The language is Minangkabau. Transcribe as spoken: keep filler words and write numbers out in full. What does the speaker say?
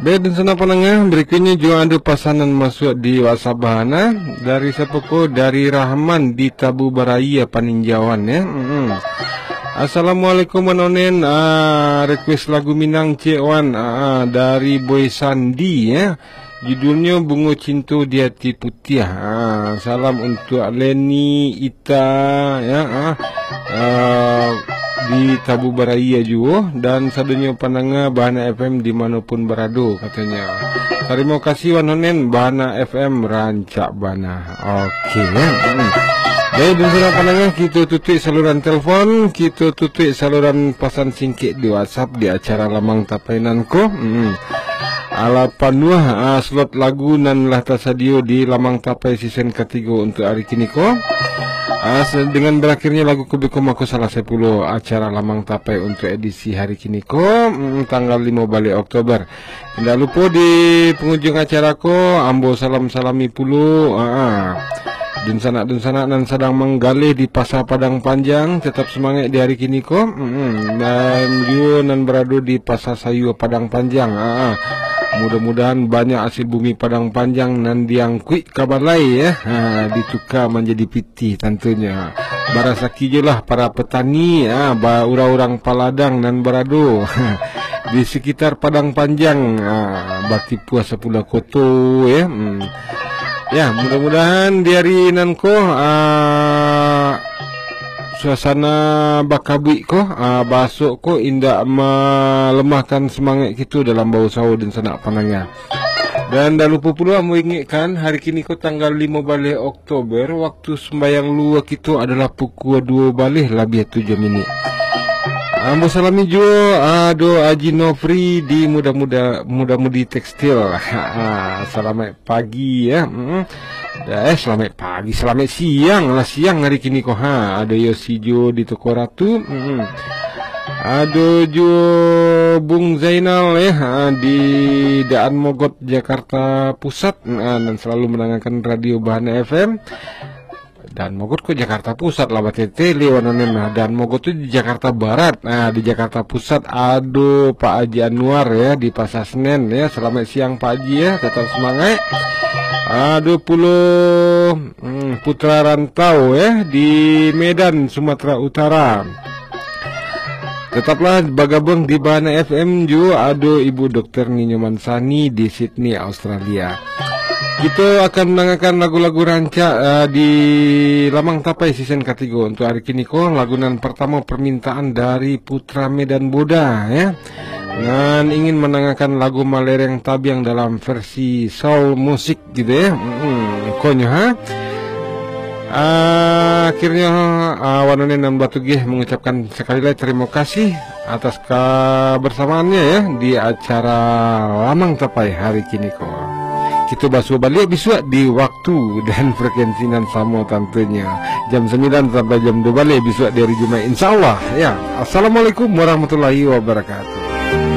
Baik, dan sana panangah, berikutnya juga ada pasanan masuk di WhatsApp Bahana. Dari siapa ko? Dari Rahman di Tabu Baraya, Paninjauan, ya. Mm-mm. Assalamualaikum, Wan Onen. Ah, request lagu Minang, cek Wan. Ah, ah, dari Boy Sandi, ya. Judulnya Bungo Cinto di Hati Putiah. Ah, salam untuk Leni, Ita, ya, ah, ah, di Tabu Baraya juo, dan sadonyo pandanga Bahana F M di manopun barado, katanya. Tarimo kasih, Wan Onen, Bahana F M rancak bana. Oke, ya. Hmm. Baik, dan sudah pandanga, kita tutup saluran telepon, kita tutup saluran pasan singkik di WhatsApp di acara Lamang Tapai nan ko. Hmm. Alah panuah, ah, slot lagu nan lah tasadio di Lamang Tapai season katigo untuk hari kini ko. Ah, se-, dengan berakhirnya lagu Kubiko, mako salasai pulo acara Lamang Tapai untuk edisi hari kini ko, mm, tanggal limo baleh Oktober. Indak lupo di pangujung acara ko, ambo salam-salami pulo, ah, ah, dunsanak-dunsanak nan sadang manggaleh di Pasa Padang Panjang, tetap semangat di hari kini ko. Mm-mm. Dan juo nan barado di Pasa Sayua Padang Panjang, ah, ah. Mudah-mudahan banyak hasil bumi Padang Panjang nan diangkuik ka balai, ya. Ha, dituka manjadi pitih tantunyo. Barasaki juolah para petani, ha, ba-, urang-urang paladang nan barado di sekitar Padang Panjang, ha, batipuah sapulah koto, ya. Hmm. Ya, mudah-mudahan di hari nan ko, ha, suasana bakabuik ko, ha, baasok ko indak malemahkan semangat kito dalam bausaho, dunsanak pandanga. Dan dak lupo pulo ambo ingekkan, hari kini ko tanggal limo baleh Oktober, waktu sumbayang luhua kito adalah pukua duo baleh labiah tujuah minit. Ambo salami juo, ado Haji Nofri di muda-muda, Muda Mudi Tekstil. Ha, salamaik pagi, ya. Mm. Eh, salamaik pagi, salamaik siang lah, siang hari kini ko. Ha, ado Yosi juo di Toko Ratu. Mm. Ado juo Bung Zainal, ya, ha, di Daan Mogot, Jakarta Pusat, ha, nan salalu mandangakan Radio Bahana F M. Daan Mogot ko Jakarta Pusat lah, batetele wan Onen, nah. Daan Mogot tu di Jakarta Barat, nah, di Jakarta Pusat ado Pak Haji Anwar, ya, di Pasar Senen, ya. Salamaik siang, Pak Haji, ya, tatap sumangaik. Ado pulo, hmm, Putra Rantau, ya, di Medan, Sumatera Utara. Tetaplah bagabuang di Bahana F M juo, ado Ibu Dokter Ninyo Mansani di Sydney, Australia. Kito akan mandangakan lagu-lagu rancak, eh, di Lamang Tapai season katigo. Untuk hari kini ko, lagu nan partamo permintaan dari Putra Medan Boda, ya. Nan ingin mandangakan lagu Malereng Tabiang dalam versi soul musik gitu, ya. Mm-mm, konyo, ha. Ah, akhirnyo, ah, wan Onen nan batugeh mangucapkan sakali lai tarimo kasih atas kabarsamaannyo, ya, di acara Lamang Tapai hari kini ko. Kito basuo baliak bisuak di waktu dan frekuensi nan samo tantunyo. Jam sambilan sampai jam duo baleh bisuak di hari Jumaik, insya Allah, ya. Assalamualaikum warahmatullahi wabarakatuh.